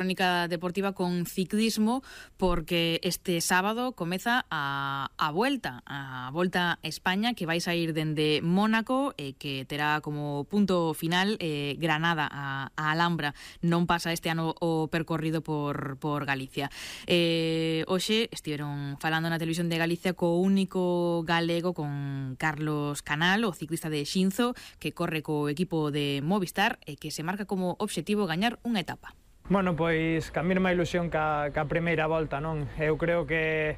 Crónica deportiva con ciclismo, porque este sábado comeza a Volta a España, que vais a ir dende Mónaco, que terá como punto final Granada a Alhambra. Non pasa este ano o percorrido por Galicia. Hoxe estiveron falando na televisión de Galicia co único galego, con Carlos Canal, o ciclista de Xinzo, que corre co equipo de Movistar e que se marca como obxectivo gañar unha etapa. Bueno, pois ca mesma ilusión ca primeira volta, non? Eu creo que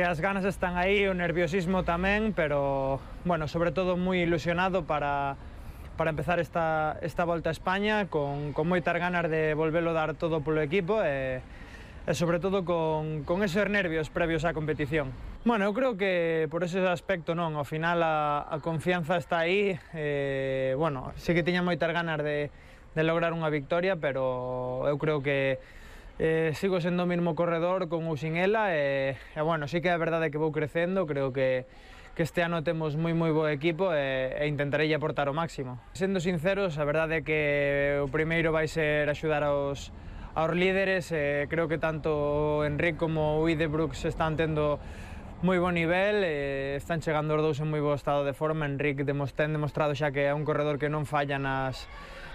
as ganas están aí, o nerviosismo tamén, pero, bueno, sobre todo moi ilusionado para empezar esta volta a España, con moitas ganas de volvelo dar todo polo equipo e sobre todo con esos nervios previos á competición. Bueno, eu creo que por ese aspecto non, ao final a confianza está aí, bueno, sí que tiña moitas ganas de lograr unha victoria, pero eu creo que sigo sendo o mesmo corredor con ou sin ela e bueno, sí que é verdade que vou crecendo, creo que este ano temos moi bo equipo e intentarei aportar o máximo. Sendo sinceros, a verdade é que o primeiro vai ser axudar aos líderes, creo que tanto Enric como o Ide Brooks están tendo moi bo nivel, están chegando os dous en moi bo estado de forma. Enric ten demostrado xa que é un corredor que non falla nas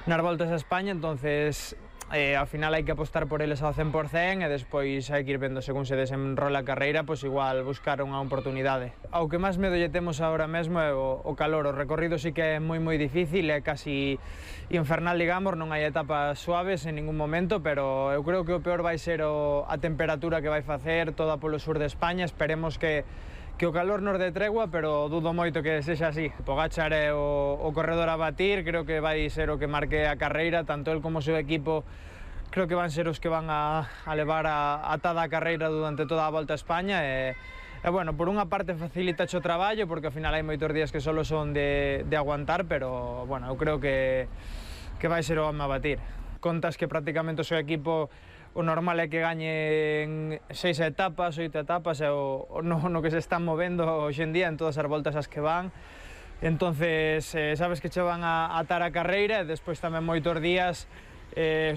voltas a España, entonces ao final hai que apostar por eles ao 100% e despois hai que ir vendo según se desenrola a carreira, pois igual buscar unha oportunidade. Ao que máis medo lle temos agora mesmo é o calor. O recorrido sí que é moi difícil, é casi infernal, digamos, non hai etapas suaves en ningún momento, pero eu creo que o peor vai ser a temperatura que vai facer toda polo sur de España. Esperemos que o calor nos dé tregua, pero dudo moito que sexa así. Pogačar é o corredor a batir, creo que vai ser o que marque a carreira, tanto el como o seu equipo creo que van ser os que van a levar atada a carreira durante toda a volta a España e bueno, por unha parte facilita o traballo, porque ao final hai moitos días que solo son de aguantar, pero bueno, eu creo que vai ser o home a batir. Contas que prácticamente o seu equipo o normal é que gañen 6 etapas, 8 etapas, é no que se están movendo hoxe en día en todas as voltas as que van. Entonces, sabes que che van a atar a carreira e despois tamén moitos días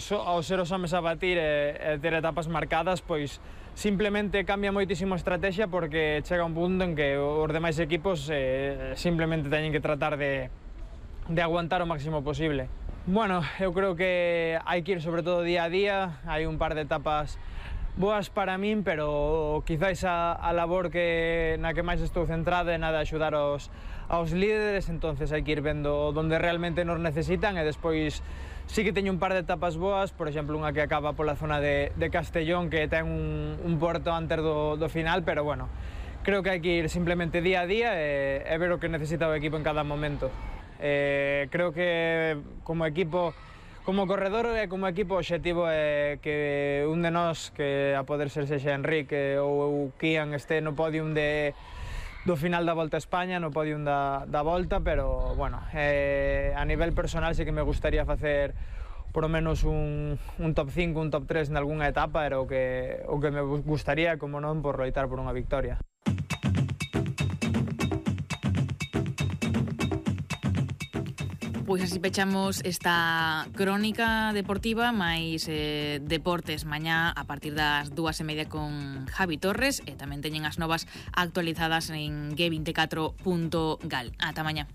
ao ser os homes a batir e ter etapas marcadas, pois simplemente cambia moitísimo a estrategia, porque chega un punto en que os demais equipos simplemente teñen que tratar de aguantar o máximo posible. Bueno, eu creo que hai que ir sobre todo día a día, hai un par de etapas boas para min, pero quizáis a labor na que máis estou centrado é na de axudar aos líderes, entonces hai que ir vendo onde realmente nos necesitan e despois sí que teño un par de etapas boas, por exemplo unha que acaba pola zona de Castellón, que ten un porto antes do final, pero bueno, creo que hai que ir simplemente día a día e ver o que necesita o equipo en cada momento. Creo que como equipo, como corredor e como equipo, o obxectivo é que un de nós, que a poder ser sexa Enric ou Kian, este no podium do final da Volta a España, no podium da volta, pero bueno, a nivel personal sí que me gustaría facer por lo menos un top 5, un top 3 en algunha etapa, era o que me gustaría, como non, por loitar por unha victoria. Pois así pechamos esta crónica deportiva, máis deportes mañá a partir das 2:30 con Javi Torres, e tamén teñen as novas actualizadas en g24.gal. Ata mañá.